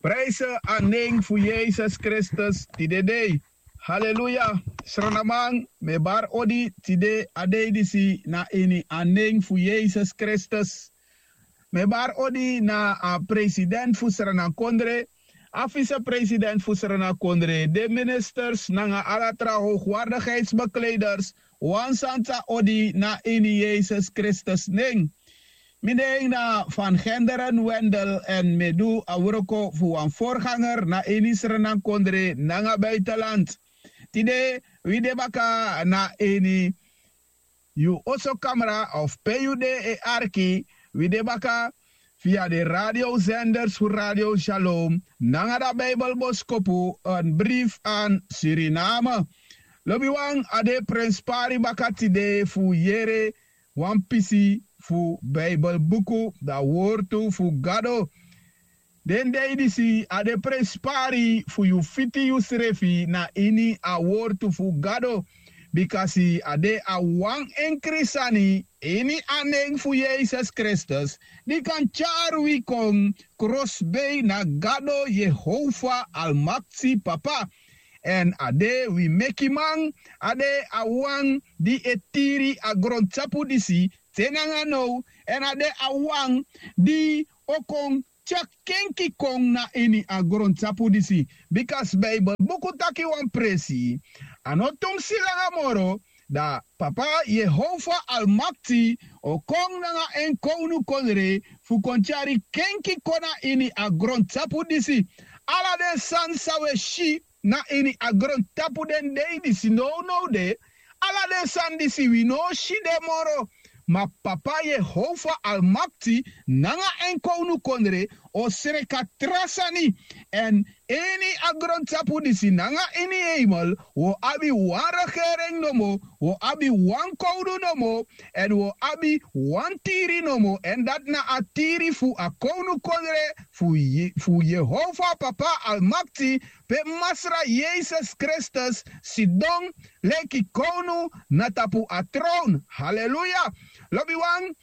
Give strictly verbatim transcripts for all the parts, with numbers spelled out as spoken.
Prijse a nen fu Yesus Kristus tide dei. Haleluya. Sranaman, mi e bari odi tide a dei disi na ini a nen fu Yesus Kristus. Mi e bari odi na a president fu Sranankondre, a vicepresident fu Sranankondre, den ministers nanga ala tra hoogwaardigheidsbekleders, wan santa odi na ini Yesus Kristus nen. Mi nen na Van Genderen Wendel èn mi e du a wroko fu wan voorganger na ini Sranankondre nanga buitenland. Tide wi de baka na ini yu oso kamra of pe yu de e arki, wi de baka via de radiozenders fu Radio Shalom nanga da Bijbelboskopu, een brief aan Suriname. Lobiwan, a de prenspari baka tide fu yere wan pisi fu Bijbelbuku, da wortu fu Gado. Den dei disi a de prenspari fu yu fiti yusrefi na ini a wortu fu Gado, bikasi a de a wan enkri sani ini a nen fu Yesus Kristus, di kan tyari wi kon krosbei na Gado Yehova Almakti Papa. Èn a de wi mekiman, a de a wan di e tiri a grontapu disi te nanga now, èn a de a wan di o kon tyari kenki kon na ini a grontapu disi. Bikasi Bijbelbuku taki wan presi, a no tumsi langa moro, da Papa Yehova Almakti o kon nanga en kownukondre fu kon tyari kenki kon na ini a grontapu disi. Ala den sani san wi e si na ini a grontapu den dei disi nownow de, ala den sani disi wi no o si den moro. Ma Papa Yehova Almakti nanga en kownukondre o sreka tra sani. Èn ini a grontapu disi nanga ini heimel, wi o abi wan regering nomo, wi o abi wan kownu nomo, èn wi o abi wan tiri nomo, èn dati na a tiri fu a kownukondre fu Ye-, fu Yehova Papa Almakti, pe Masra Yesus Kristus sidon leki kownu na tapu a trown. Haleluya. Lobiwan,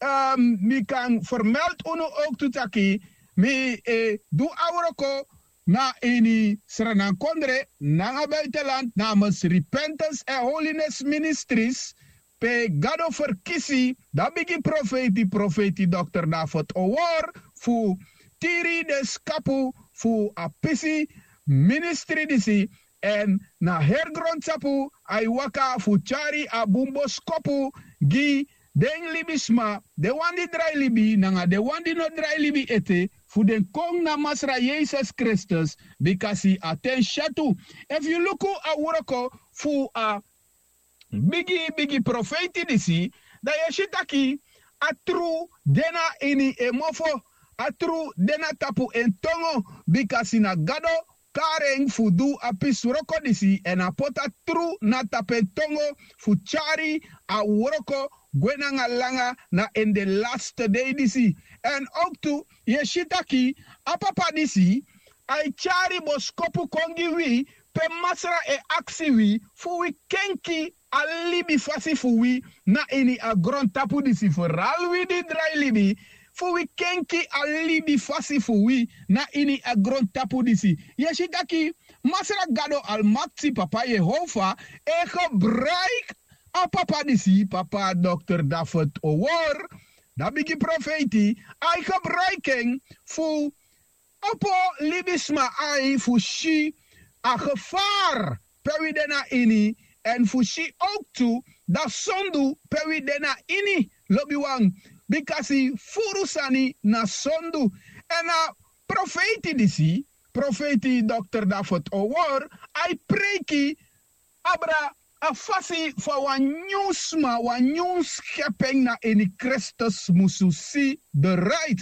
ehm, mi kan vermeld unu ook tu taki, mi, eh, du a wroko na ini Sranankondre nanga buitenland namens Repentance and Holiness Ministries, pe Gado ferkisi da bigi profeiti, profeiti Dokter David Owor, fu tiri den skapu fu a pisi ministri disi, èn na heri grontapu a e waka fu tyari a bun boskopu gi den libisma, den wan di drai libi nanga den wan di no drai libi ete, fu den kon na Masra Yesus Kristus, bikasi a ten syatu. Efu yu luku a wroko fu a bigi bigi profeiti disi, dan yu e si taki a tru de na ini en mofo, a tru de na tapu en tongo, bikasi na Gado kari en fu du a pisi wroko disi, èn a poti a tru na tapu en tongo fu tyari a wroko gwe nanga langa na ini den laste dei disi. Èn ook tu yu e si taki a papa disi a e tyari boskopu kon gi wi, pe Masra e aksi wi fu wi kenki a libi fasi fu wi na ini a grontapu disi, feral wi di drai libi, fu wi kenki a libi fasi fu wi na ini a grontapu disi. Yu e si taki Masra Gado Almakti, Papa Yehova, e gebruiki a papa disi, Papa Dokter David Owor, da bigi profeiti, a e gebruiki en fu opo libisma ai fu si a gevaar pe wi de na ini, èn fu si ook tu da sondu pe wi de na ini, lobiwan, bikasi furu sani na sondu. Èn a profeiti disi, profeiti Dokter David Owor, a e preiki abra a fasi fa wan nyun sma, wan nyun skepen na ini Kristus musu si de rait.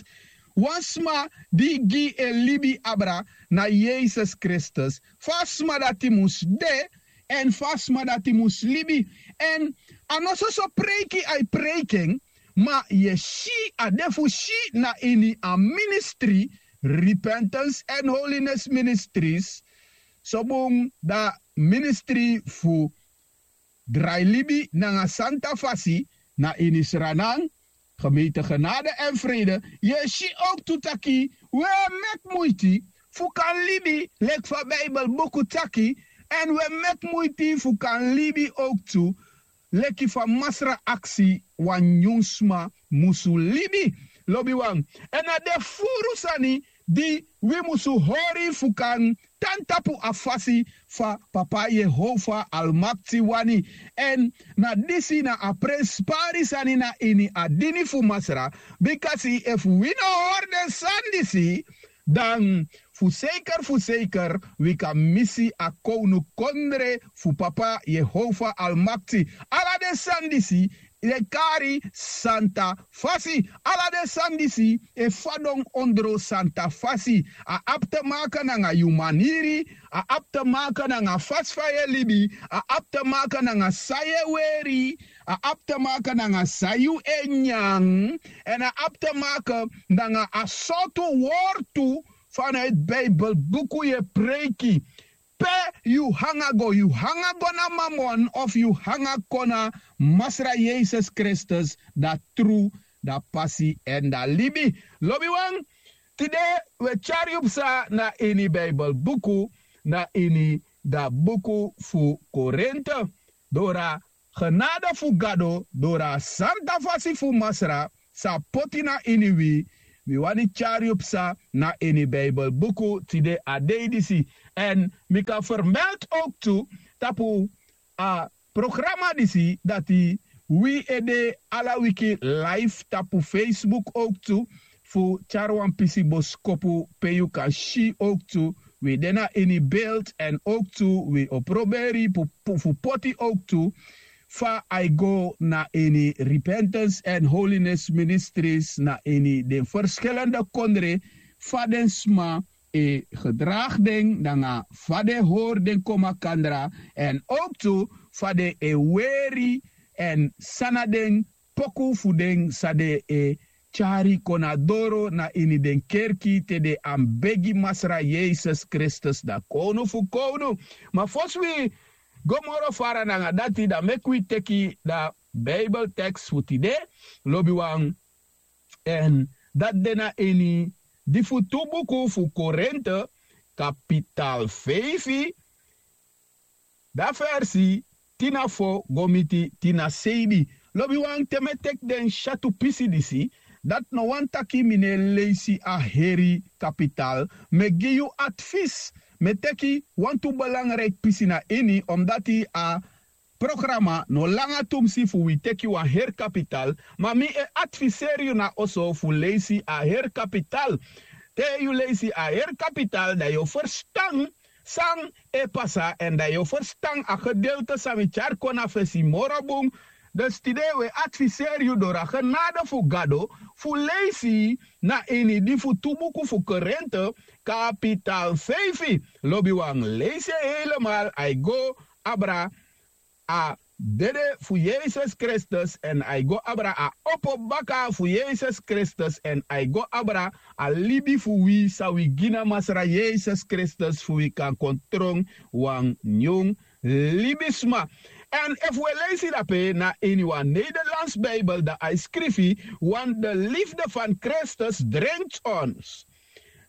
Wan sma di gi en libi abra na Yesus Kristus, fa a sma dati mus de, èn fa a sma dati mus libi. Èn a no soso preiki a e preiki en, ma yu e si a de fu si na ini a ministri, Repentance and Holiness Ministries, so bun da ministri fu drai libi nanga santa fasi na ini Sranan, Gemeente Genade en Vrede, yu e si owktu taki wi e meki muiti fu kan libi leki fa Bijbelbuku taki, èn wi e meki muiti fu kan libi owktu leki fa Masra aksi wan nyun sma musu libi. Lobiwan, èn na den furu sani di wi musu hori fu kan tan tapu a fasi fa Papa Yehova Almakti wani. Èn na disi na a prenspari sani na ini a dini fu Masra, bikasi efu wi no hori den sani disi, dan fu seiker fu seiker wi kan misi a kownukondre fu Papa Yehova Almakti. Ala den sani disi e kari santa fasi. Ala den sani disi e fadon ondro santa fasi. A abi te maka nanga yu maniri, a abi te maka nanga fasi fa yu e libi, a abi te maka nanga san yu e weri, a abi te maka nanga san yu e nyan, èn a abi te maka nanga a sortu wortu fa na yu Bijbelbuku yu e preiki. Pe yu hanga go, yu hanga go na Mamon of yu hanga kon na Masra Yesus Kristus, da tru, da pasi èn da libi. Lobiwan, tide wi e tyari yu psa na ini Bijbelbuku, na ini da buku fu Korinte. Dora genade fu Gado, dora santa fasi fu Masra, sa poti na ini wi, wi wani tyari yu psa na ini Bijbelbuku tide a dei disi. Èn mi kan fermelti owktu tapu a programa disi dati wi e de ala wiki live tapu Facebook owktu, fu tyari wan pisi boskopu pe yu kan si owktu wi de na ini beeld èn owktu wi o proberi fu poti owktu fa a e go na ini Repentance and Holiness Ministries na ini den ferskilende kondre, fa den sma e gedragi den nanga fa den hori den kon makandra, èn owktu fa den e weri èn san na den poku fu den san den e tyari kon na doro na ini den kerki te den anbegi Masra Yesus Kristus, da kownu fu kownu. Ma fosi wi go moro fara nanga dati, da meki wi teki da Bijbeltekst fu tide, lobiwan, èn dati de na ini di fu tu buku fu Korinte, kapital feifi, da versi tin na fo go miti tin na seibi. Lobiwan, te mi e teki den syatu pisi disi, dati no wani taki mi no e leisi a heri kapital. Mi e gi yu advis, mi e teki wantu belangriki pisi na ini, omdati a programa no langa tumsi fu wi teki wan heri kapital, ma mi e adviseri yu na oso fu leisi a heri kapital. Te yu leisi a heri kapital, da yu o ferstan san e pasa, èn da yu o ferstan a gedeelte san mi tyari kon na fesi moro bun. Dus tide wi e adviseri yu doro a genade fu Gado fu leisi na ini di fu tu buku fu Korinte, kapital feifi. Lobiwan, leisi en helemaal, a e go abra a dede fu Yesus Kristus èn a e go abra a opo baka fu Yesus Kristus èn a e go abra a libi fu wi san wi gi na Masra Yesus Kristus fu wi kan kon tron wan nyun libisma. Èn efu wi e leisi dape na ini wan Nederlands Bijbel, da a e skrifi: Want de liefde van Christus dringt ons,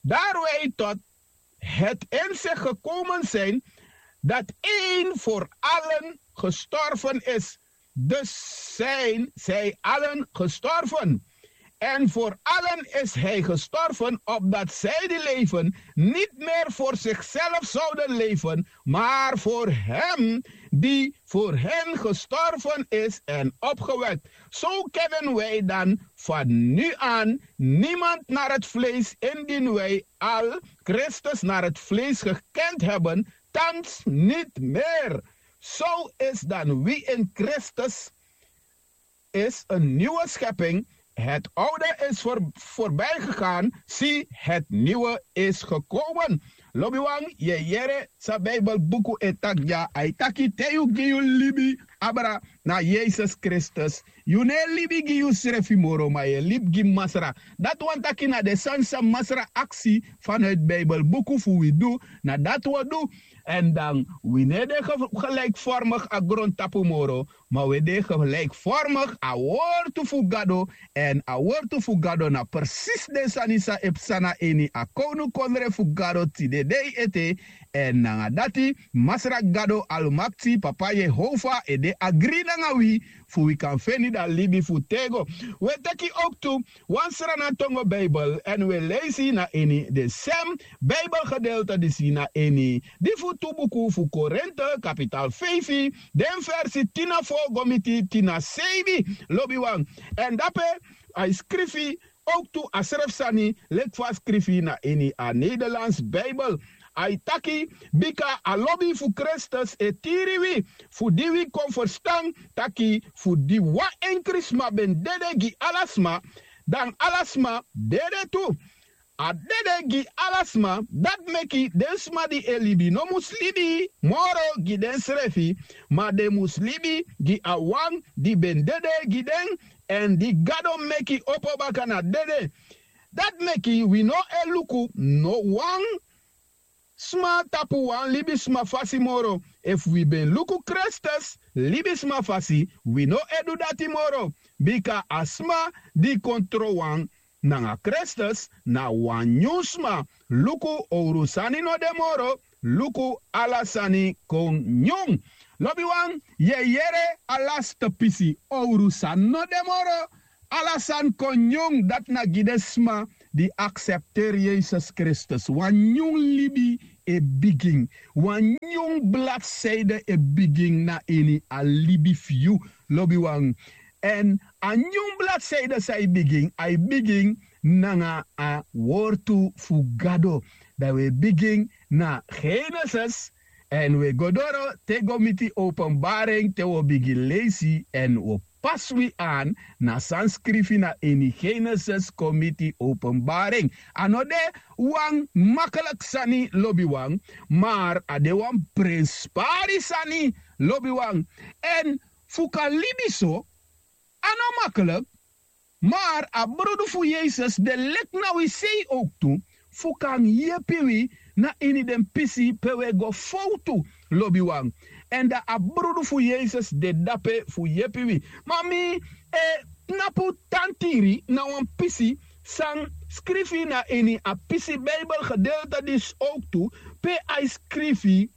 daar wij tot het inzicht gekomen zijn dat één voor allen gestorven is. Dus zijn zij allen gestorven. En voor allen is hij gestorven, opdat zij die leven niet meer voor zichzelf zouden leven, maar voor hem die voor hen gestorven is en opgewekt. Zo kennen wij dan van nu aan niemand naar het vlees, indien wij al Christus naar het vlees gekend hebben, thans niet meer. Zo is dan wie in Christus is een nieuwe schepping. Het oude is voor, voorbij gegaan. Zie, het nieuwe is gekomen. Lobiwan, yu e yere san Bijbelbuku e taki dya, a e taki te yu gi yu libi abra na Yesus Kristus, yu no e libi gi yusrefi moro, ma yu e libi gi Masra. Dati wani taki na den sani san Masra aksi vanuit Bijbelbuku fu wi du, na dati wi o du. Èn dan wi no e de ge- gelijkvormig na grontapu moro, ma wi e de gelijkvormig na a wortu fu Gado. Èn a wortu fu Gado na presis den sani san e psa na ini a kownukondre fu Gado tide dei ete. Èn nanga dati, Masra Gado Almakti, Papa Yehova, e de agri nanga wi, fu wi kan feni dan libi fu tego. Wi e teki owktu wan srana tongo Bijbel èn wi e leisi na ini den sem Bijbelgedeelte disi na ini di fu tu buku fu Korinte, kapital feifi, den versi tin na fo go miti tin na seibi, lobiwan. Èn dape a e skrifi owktu a srefi sani leki fa a skrifi na ini a Nederlands Bijbel. A e taki, bika a lobi fu Kristus e tiri wi, fu di wi kon ferstan taki fu di wan enkri sma ben dede gi ala sma, dan ala sma dede tu. A dede gi ala sma, dati meki den sma di e libi no mus libi moro gi densrefi, ma den mus libi gi a wan di ben dede gi den, èn di Gado meki opo baka na dede. Dati meki wi no e luku no wan sma tapu wan libisma fasi moro. Efu wi ben luku Kristus libisma fasi, wi no e du dati moro. Bika a sma di kon trowan nanga Kristus na wan nyun sma. Luku, owru sani no de moro. Luku, ala sani kon nyun. Lobiwan, yu e yere a lasti pisi, owru sani no de moro. Ala sani kon nyun, dati na gi den sma di aksepteri Yesus Kristus. Wan nyun libi e bigin. Wan nyun bladseide e bigin na ini a libi fu yu, lobiwan. Èn a nyun bladseide san e bigin, a e bigin nanga a wortu fu Gado. Dan wi e bigin na Genesis, èn wi e go doro te go miti Openbaring, te wi o bigin leisi èn wi o pasi wi an na san skrifi na ini Genesis kon miti Openbaring. A no de wan makliki sani, lobiwan, mar a de wan prenspari sani, lobiwan. Èn fu kan libi so, a no makliki, mar a brudu fu Yesus de leki na wi sei owktu, fu kan yepi wi na ini den pisi pe wi e go fowtu, lobiwan. Èn dan a brudu fu Yesus de dape fu yepi wi. Ma mi e tnapu tan tiri na wan pisi san skrifi na ini a pisi Bijbelgedeelte disi owktu, pe a e skrifi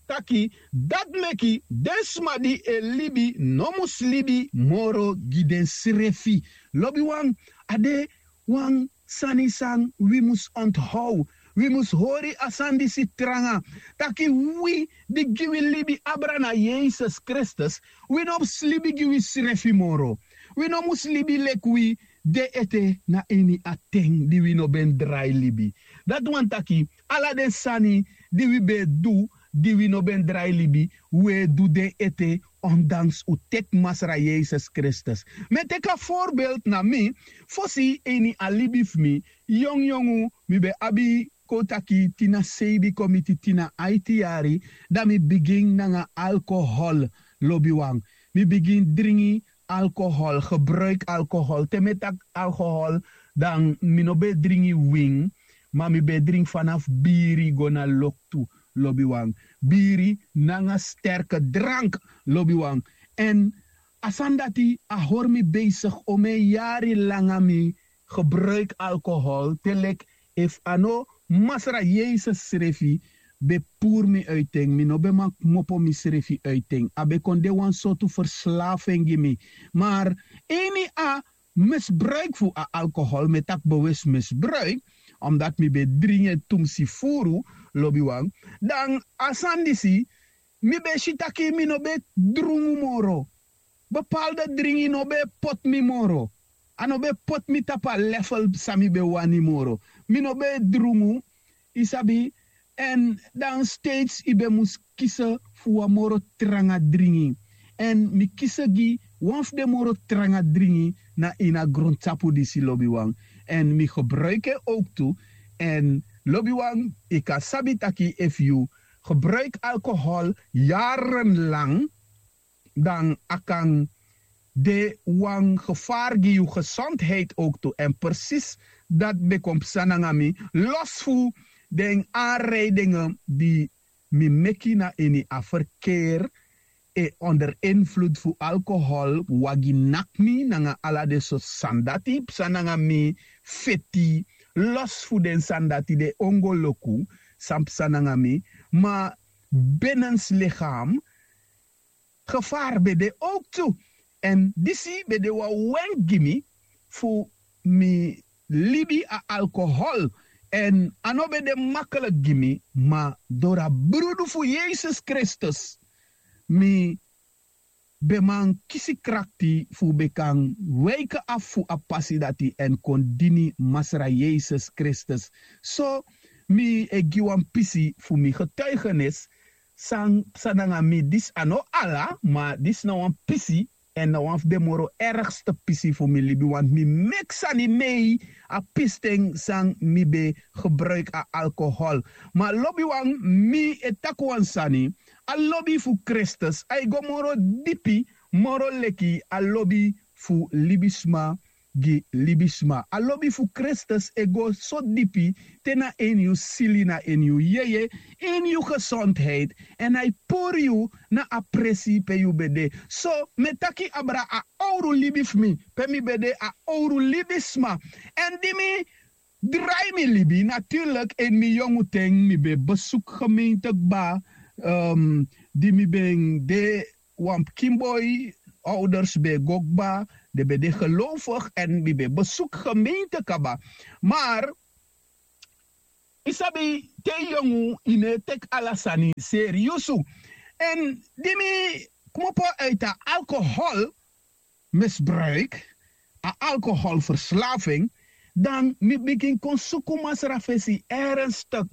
taki, dati meki den sma di e libi no mus libi moro gi densrefi. Lobiwan, a de wan sani san wi mus onthow. Wi mus hori a sani disi tranga, taki wi di gi wi libi abra na Yesus Kristus, wi no mus libi gi wisrefi moro. Wi no mus libi leki wi de ete na ini a ten di wi no ben drai libi. Dati wani taki, ala den sani di wi ben e du di wi no ben drai libi, wi e du den ete, ondanks un teki Masra Yesus Kristus. Mi e teki a voorbeeld na mi, fosi ini a libi fu mi, yongyongu, mi ben abi, kon taki, tin na seibi kon miti tin na aiti yari, dan mi bigin nanga alcohol, lobiwan. Mi bigin dringi alcohol, gebruik alcohol. Te mi e taki alcohol, dan mi no ben e dringi win, ma mi ben e dringi fanafu biri go na loktu, lobiwan. Biri nanga sterke drank, lobiwan. Èn a sani dati a hori mi besigi, omeni yari langa mi gebruiki alkohol, te leki efu a no Masra Yesus srefi ben puru mi uiti en, mi no ben man kmopo misrefi uiti en. A ben kon de wan sortu ferslafing gi mi. Mar ini a misbruiki fu a alkohol, mi e taki bewus misbruiki, omdati mi ben dringi en tumsi furu, lobiwan, dan a sani disi mi ben si taki mi no ben e drungu moro. Bepaalde dringi no ben e poti mi moro. A no ben e poti mi tapu a level san mi ben wani moro. Mi no ben e drungu, yu sabi, èn dan steeds yu ben mus kisi fu wan moro tranga dringi. Èn mi kisi gi wan fu den moro tranga dringi na ini a grontapu disi, lobiwan. Èn mi gebruiki en owktu, èn Lobiwan, yu kan sabi taki efu yu gebruiki alkohol yarenlang, dan a kan de wan gefari gi yu gesondheid owktu. Èn presis dati ben kon psa nanga mi, los fu den anrijdinge di mi meki na ini a ferkeer, e onder invloed fu alkohol, wagi naki mi nanga ala den sortu sani dati psa nanga mi, feti, los fu den sani dati, den ongoloku san psa nanga mi. Ma benens lichaam gevaar ben de owktu. Èn disi ben de wan wenki gi mi fu mi libi a alkohol. Èn a no ben de makliki gi mi, ma dori a brudu fu yesus kristus mi ben man kisi krakti fu ben kan weike afu fu a pasi dati èn kon dini masra yesus kristus. So mi e gi wan pisi fu mi getuigenis san psa nanga mi. Disi a no ala, ma disi na wan pisi, èn na wan fu den moro ergste pisi fu mi libi, want mi meki sani mei a pisiten san mi ben gebruiki a alkohol. Ma lobiwan, mi e taki wan sani, a lobi fu kristus a e go moro dipi moro leki a lobi fu libisma gi libisma. A lobi fu kristus e go so dipi te na ini yu sili, na ini yu yeye, ini yu gesondheid, èn a e puru yu na a presi pe yu ben de. So mi e taki abra a owru libi fu mi pe mi ben de a owru libisma. Èn di mi drai mi libi, naturlik ini mi yongu ten mi ben besuku gemeente kba, di mi ben de wan pikin boi, ouders ben e go kba, den ben de gelowfigi èn mi ben e besuku gemeente kaba. Mar yu sabi, te yu yongu yu no e teki ala sani seriusu. Èn di mi kmopo uiti a alkohol misbruik, a alkoholverslaving, dan mi bigin kon suku masra fesi ernstik.